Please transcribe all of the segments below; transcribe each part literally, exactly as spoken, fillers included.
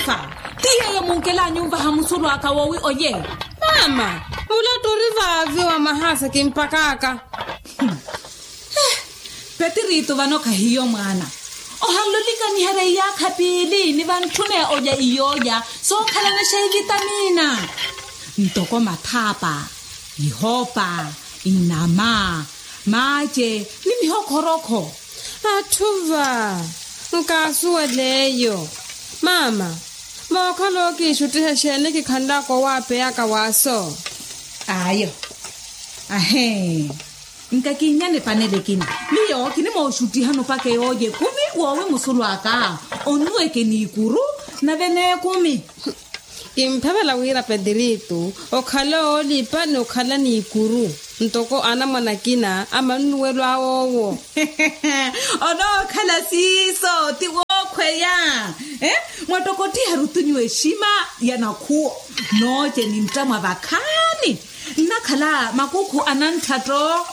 Fa ti yeeyo munkel'anyu onvaha musulu aka woowi olye. Mama, mulatta ori vaavi wa mahaasa kimpak'aka. Petiritu vano khahiyo mwaana. Ohanle olikaniherya iyaakha piili ni vantthune olya iyoolya sookhalana xeivitamina, ntoko mathaapa, ihoopa, inama, maace, ni mihokhorakho. Atthu va nkaasuwel'eyo. Mama, mookhala okiixuttiha exeeni kikhanlaka owaapeyaka waaso? Ayo. Ahee. Nkakiinyane panele ekina. Miyo kinimooxuttihani opaka eyoolya ekumi woowi musulu aka onnuweke n'ikuru nave n'ekumi. Kimphavela wira petiritu okhala oolipa n'okhala n'ikuru ntoko anamwane akina a mannuwelo awoowo. Onookhala siiso ti wookhweya. Mwattokottiha rutunyu exima ya nakhuwo nooce ni nttamwa vakhaani. Nnakhala makukhu a nantthatto.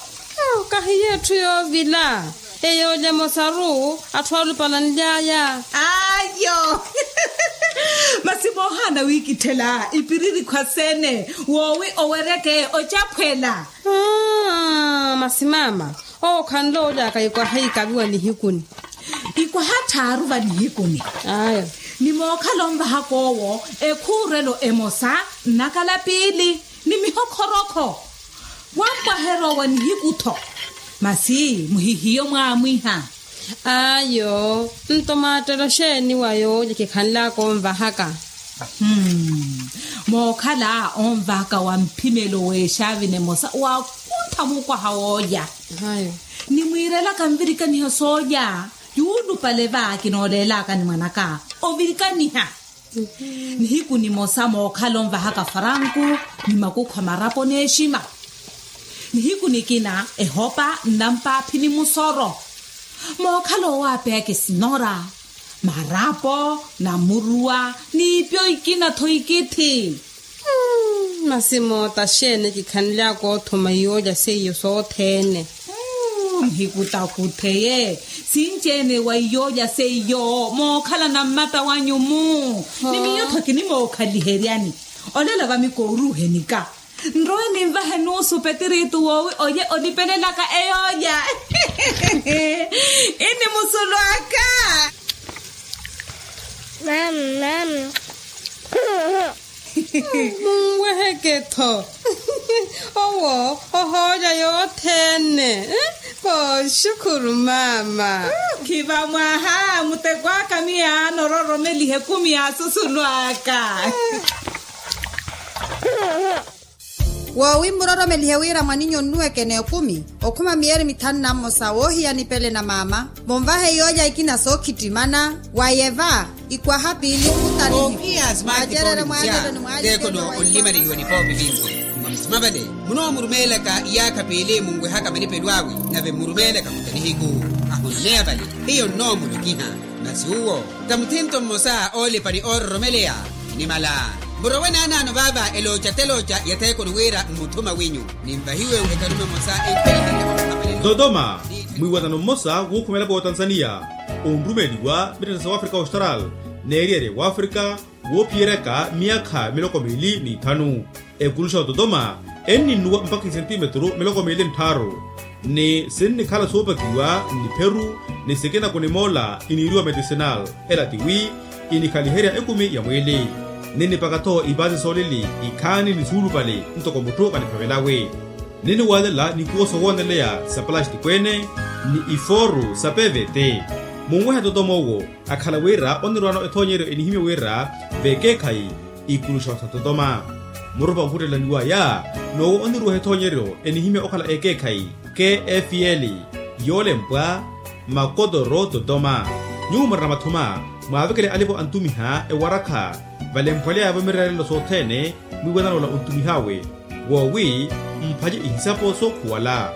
Kahiyo etthu yoovila. Eyoolya emosaru atthu aalupalanly'aya. Ayo. Masi moohaana wiikitthela ipiriri khwasene woowi owereke ocaphwela. Masi mama, owo khanle oly'aka ikwaha ikavi wa nihikuni. Ikwaha tthaaru va nihikuni. Ayo. Ni mookhala onvahaka owo ekhuurelo emosa nnakala piili ni mihokhorakho. Wampwaherya owa nihiku-tho. Masi muhihiyo mwaamwiha. Ayo. Nto maattelo xeeni wa yoolya kikhanlaka onvahaka? Mookhala onvahaka wa mphimelo w'exaavi nemosa waakuntha mukwaha woolya. Nimwiirelaka nvirikaniha soolya. Yuulupale va kinooleelaka ni mwanaka ovirikaniha. Nihiku nimosa mookhala onvahaka faranku ni makukhu a marapo n'exima. Nihiku nikina ehopa nnampaaphi ni musoro. Mookhala owaapeyaka esinora, marapo, namuruwa n'ipyo ikina-tho ikithi. Masi moota xeeni kikhanly'aka othuma iyoolya seiyo sothene? Nhikutakutheye sinci-ene wa iyoolya seiyo mookhalana mmata wanyu-mu. Ni miyo-tho kinimookhaliheryani. Olela va mikooruuhenika nrowe ninvahe nuusu petiritu woowi olye olipelelaka eyoolya. Ini musulu aka. Mama. Munweheke-tho. Owo ohoolya yothene. Kooxukhuru mama. Khiva mwaha muteko aka miyo anororomelihe ekumi ya susulu aka. Woowi mmuroromelihe wira mwaninyu onnuweke n'ekumi okhuma miyeri mithanu na mmosa woohiya nipele na maama. Vonvahe yoolya ikina sookhittimana wayeva ikwaha piili. Mwacerere mwaalelo ni mwaalelo teekono onlimaleliwa nipoopi vinci. Mwa musima vale munoomurumeelaka iyaakha piili munwehaka malipelo awe nave mmurumeelaka muta nihiku. Ahonneya vale hiyo nnoomulokiha. Masi uwo ta muthinto mmosa oolipa ni oororomeleya. Nimala murowe naanaano vaava elooca telooca ya theekoni wira mmuthuma winyu. Ninvahiwe ekarume mmosa enkweihele. Dodoma. Mwiiwanano mmosa wuukhumela vootanzaniya onrumeeliwa mittettha sa wafrika austral n'eriyari ya wafrika woophiyeryaka myaakha miloko miili n'ithanu. Ekuluxa ototoma enninnuwa mpakha isentimetru miloko miili nttharu. Ni sinnikhala soopakiwa nnipheru ni sikinako ni moola iniiriwa medicinal. Ela tiwi inikhaliherya ekumi ya mwiili. Ninnipaka-tho ipaasi soolili ikhaani ni suulupale ntoko mutthu kaniphavelawe. Ninniwaalela nikuwo sowooneleya sa palastiko ene ni ifooru sa pvt. Munwehe totoma owo akhala wira onirwaano ethoonyeryo enihimya wira vekeekhayi ikuluxa sa totoma. Murupa okhuttelaniwaya n'owo onirweha ethoonyeryo enihimya okhala ekeekhayi kfl yoolempwa makotoro totoma. Nyuwo murina mathuma mwaavekele alipo antumiha ewarakha valemphweleyavo mirerelelo sothene mwiiwanano ola ontumih'awe. Woowi mphace ihisapo sookhuwala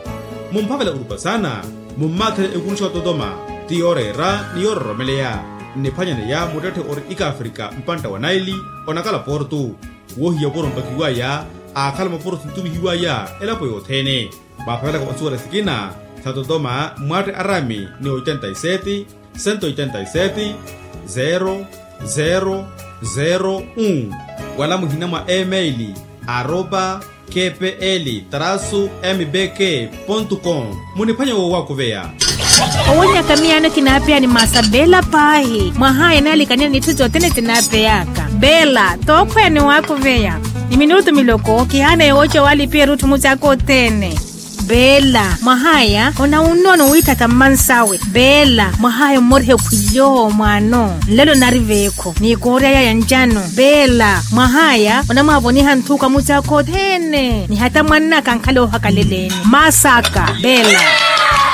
mumphavela orupa saana. Mummaatherye ekuluxa ototoma ti yooreera ni yoororomeleya. Nniphwanyaneya muttetthe ori ikaafrika mpantta wa naili onakala portu. Woohiya oporo mpakiwaya aakhala moporo sintumihiwaya elapo yothene. Mwaaphavelaka onsuwela sikina sa totoma mwatte arami ni oitenta y sete, sento oitenta y sete, zero, zero, Zero un. Wala muhina mwa email arroba kpl trasu mbk pontu com. Muniphwanya wowakuveya. Owonyaka miyaano kinaapeya ni masa bela paahi mwahaya naalikaniya n'itthu sothene sinaapeyaka. Bela tookhweya ni waakuveya. Ni minutu miloko kihaana yooca walipiya erutthu mucaaka othene. Bela mwahaya onawunnono wiitthaka mmansawe. Bela mwahaya ommoriha ekhwiyo mwaano nlelo nari veekho ni koorya yaya ncano. Bela mwahaya onamwaavoniha nthuuka mucaaka othene ni hata mwannaka ankhala oohakaleleni. Masaka bela.